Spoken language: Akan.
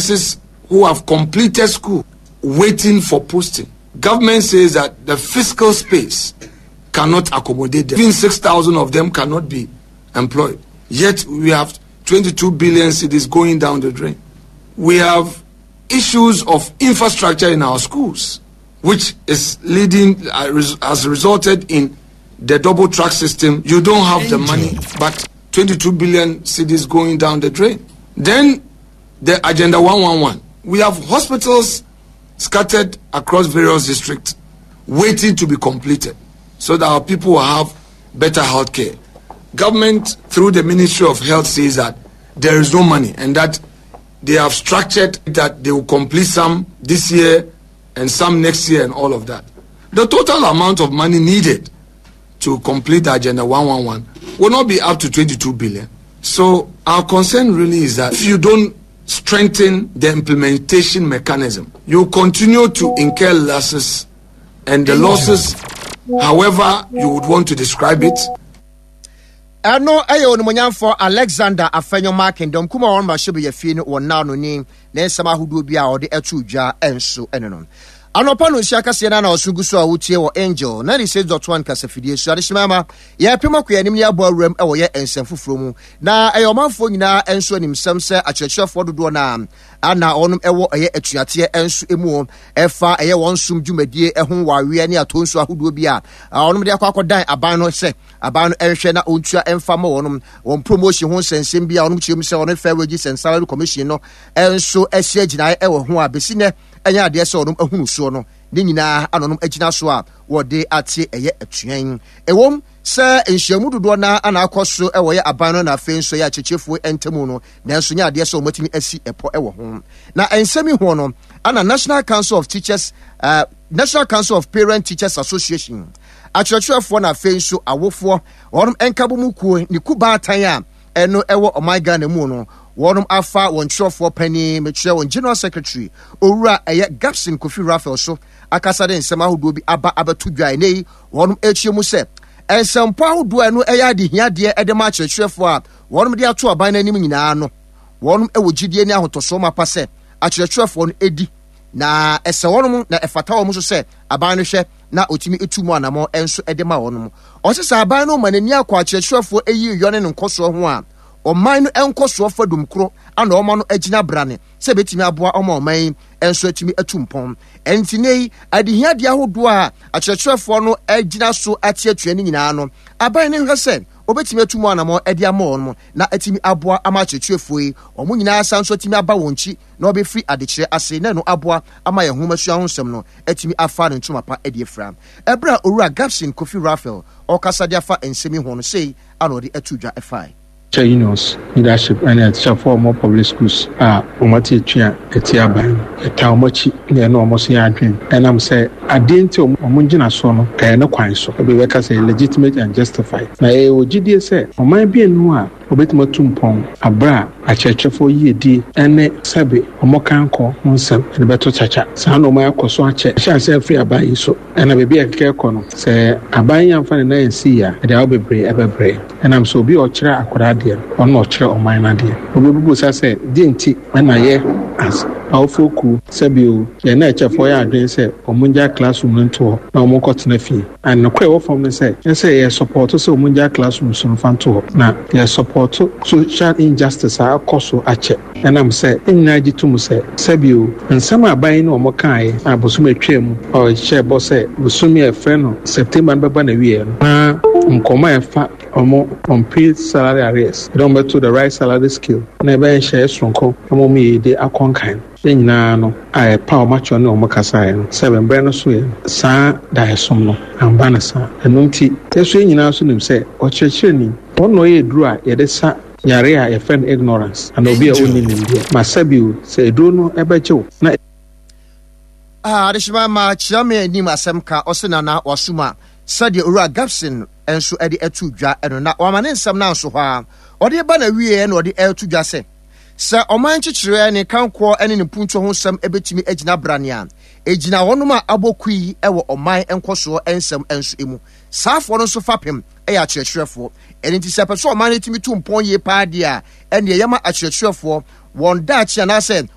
Nurses who have completed school waiting for posting. Government says that the fiscal space cannot accommodate them. Even 6,000 of them cannot be employed. Yet we have 22 billion cedis going down the drain. We have issues of infrastructure in our schools, which is leading uh, has resulted in the double track system. You don't have the money, but 22 billion cedis going down the drain. Then the Agenda 111. We have hospitals scattered across various districts waiting to be completed so that our people will have better health care. Government, through the Ministry of Health, says that there is no money and that they have structured that they will complete some this year and some next year and all of that. The total amount of money needed to complete Agenda 111 will not be up to 22 billion. So our concern really is that if you don't strengthen the implementation mechanism, you continue to incur losses and the losses, however you would want to describe it, Ɛno yɛ Onimuonyamfoɔ Alexander Afenyo Markin, dɔm kumaa a wɔn mmarahyɛbadwa fie no wɔ nna ano ni, ne nsɛm ahodoɔ bi a ɔde too dwa nso ne no. Anɔpa no nhyia kaseɛ no na ɔso gu so a wotie wɔ Angel 96.1 kasafidie so. Adehyema ma yɛpem akɔ yɛn anim ne yɛabɔ awuram wɔ yɛ nsɛm foforɔ mu. Na ɛyɛ ɔmanfoɔ nyinaa nso animsɛm sɛ akyerɛkyerɛfoɔ dodoɔ no a na wɔnom ɛwɔ ɛyɛ atuateɛ nso mu ɛfa ɛyɛ wɔn som dwumadie ho waweɛ ne atonso ahodoɔ bi a wɔnom de akɔ akɔdan aban no sɛ aban no nhwɛ na ɔntua mfa ma wɔnom wɔn promotion ho nsɛnsɛm bi a wɔnom kyerɛ mu sɛ wɔne Fair Wages and Salary Commission no nso asi agyinae wɔ ho a bɛsi nɛ ɛnyɛ adeɛ sɛ wɔnom ahunu soɔ no ne nyinaa ana wɔnom agyina so a wɔde ate ɛyɛ atua yi. Ɛwom sɛ nhyiamu dodoɔ no ara na akɔ so wɔ yɛ aban no na afei nso ɛyɛ akyekyefoɔ ntamu no, nanso nyɛ adeɛ sɛ wɔatumi asi ɛpɔ wɔ ho. Na nsɛm yi ho no ana National Council of Teachers uh, National Council of Parent Teachers Association akyerɛkyerɛfoɔ na afei nso awofoɔ wɔnom nkabom kuo ne kubaatan a ɛno ɛwɔ ɔman Ghana mu no wɔnom afa wɔn kyerɛfoɔ panin mekyerɛ wɔn General Secretary owura ɛyɛ Gabson Kofi Raphael so akasa de nsɛm ahodoɔ bi aba abɛto dwa ɛnɛ yi wɔnom ɛkyerɛ mu sɛ nsɛmpɔ ahodoɔ a ɛno ɛyɛ adehiadeɛ ɛde ma akyerɛkyerɛfoɔ a wɔnom de ato aban no anim nyinaa no wɔnom ɛwɔ gyidie ne ahotɔsoɔ mapa sɛ akyerɛkyerɛfoɔ no ɛdi na ɛsɛ wɔnom na ɛfata wɔn nso sɛ aban no hwɛ na ɔtumi tu mu anamɔ nso de ma wɔnom. Ɔse sɛ aban no ma n'ani akɔ akyerɛkyerɛfoɔ ayi yɔ ne ne nkɔsoɔ ho a, ɔman no nkɔsoɔ fadum koro ana ɔma no agyina brane sɛ ɛbɛtumi aboa ɔma ɔman yi nso atumi atu mpɔn. Ɛnti nnɛ yi, adehiadeɛ ahodoɔ a akyerɛkyerɛfoɔ no agyina so ate atua no nyinaa no, aban no nhwɛ sɛ ɔbɛtumi atu mu anamɔ de ama wɔn na atumi aboa ama akyerɛkyerɛfoɔ yi wɔn nyinaa asan nso atumi aba wɔn nkyi na wɔbɛfiri adekyerɛ ase na ɛno aboa ama yɛn nhomasua ho nsɛm no atumi afa ne ntoma pa adi afira. Ɛberɛ a Owura Gabson Kofi Raphael ɔrekasa de afa nsɛm yi ho no, sei ana ɔde too dwa fae. Teacher unions leadership ne atikyafoɔ a wɔwɔ public schools a wɔate atua atia aban no, yɛtaa wɔn akyi na yɛne wɔn nso yɛ adwene ɛnam sɛ adeɛ nti a wɔn ngyinasoɔ no ɛyɛ ne kwan so, ebi bɛka sɛ legitimate and justified. Na yɛwɔ gyidie sɛ ɔman bi nni hɔ a Wɔbɛtumi atu mpɔn berɛ a akyerɛkyerɛfoɔ yiedie ne sɛbe wɔn kankɔ ho nsɛm de bɛto kyakya. Saa nnoɔma yi akɔ so akyɛ ahyɛ aseɛ afiri aban yi so. Ɛna baabi a ɛkeka rekɔ no, sɛ aban yi amfa ne nan ansi yie a, ɛde haw bebree bɛbrɛ yɛn. Ɛnam sɛ obi a ɔkyerɛ akwadaa adeɛ no, ɔno na ɔkyerɛ ɔman no adeɛ. Obi bɛbisa sɛ, deɛ nti na yɛ as awofoɔ kuo, sɛbe o, yɛn akyɛfoɔ yɛ adwene sɛ wɔngyae classroom no nto hɔ na wɔnkɔtena fie? And nokorɛ ɛwɔ fam ne sɛ, nyɛ sɛ yɛ sɔpɔɔto sɛ wɔn ngyae classrooms no mfa nto hɔ, na yɛ sɔpɔɔto social injustice a akɔ so akyɛ ɛnam sɛ yɛn nyinaa gye tom sɛ, sɛbi o, nsɛm a aban yi ne wɔn kaaeɛ a bosome a ɛtwaa mu a wɔhyɛɛ bɔ sɛ bosome a yɛfrɛ no September no bɛba n'awieɛ no, na nkɔmmɔ a ɛfa wɔn unpaid salary arrears, yɛde wɔn bɛto the right salary scale na ɛbɛyɛ nhyehyɛeɛ soronko ama wɔn yiedie akɔ nkan. Yɛn nyinaa no a yɛpaw wɔn akyerɛw ne wɔn kasaeɛ no, sɛ bɛbrɛ no soeɛ no, saa daeɛsom no amba no saa. Ɛno nti, yɛn nso yɛn nyinaa nso nim sɛ ɔkyerɛkyerɛni, ɔno na ɔyɛ aduro a yɛde sa yareɛ a yɛfrɛ no ignorance anaa obi a ɔnni nimdeɛ. Ma sɛbio, sɛ aduro no bɛgye wo na. Ah, adehyema ma kyerɛ me anim asɛm ka, ɔse Nana wasum a, sɛdeɛ Owura Gabson nso de ato dwa no, na wama ne nsɛm no anso hɔ ara. Ɔde ba n'awieɛ na ɔde reto dwa sɛ, Sɛ ɔman nkyekyereɛ, ne nkankoɔ ne ne mpuntuo ho nsɛm bɛtumi agyina brane a, ɛgyina wɔnom a abɔ kui wɔ ɔman nkɔsoɔ nsɛm nso mu. Saafoɔ no nso fapem yɛ akyerɛkyerɛfoɔ. Ɛno nti sɛ ɛpɛ sɛ ɔman no tumi tu mpɔn yie paa deɛ a, ɛnneɛ yɛma akyerɛkyerɛfoɔ wɔn daakye anaasɛ.